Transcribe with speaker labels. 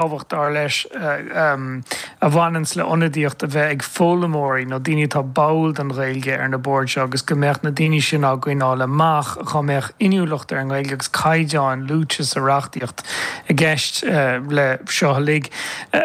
Speaker 1: Tábhacht, dar leis, a bhaineanns le ionadaíocht a bheith ag foghlaimeoirí nó daoine atá báúil don Ghaeilge ar na boird seo agus go mbeadh na daoine sin á gcoinneáil amach dhá mbeadh inniúlacht ar an nGaeilge agus caighdeáin luaite sa reachtaíocht i gceist le seo uilig.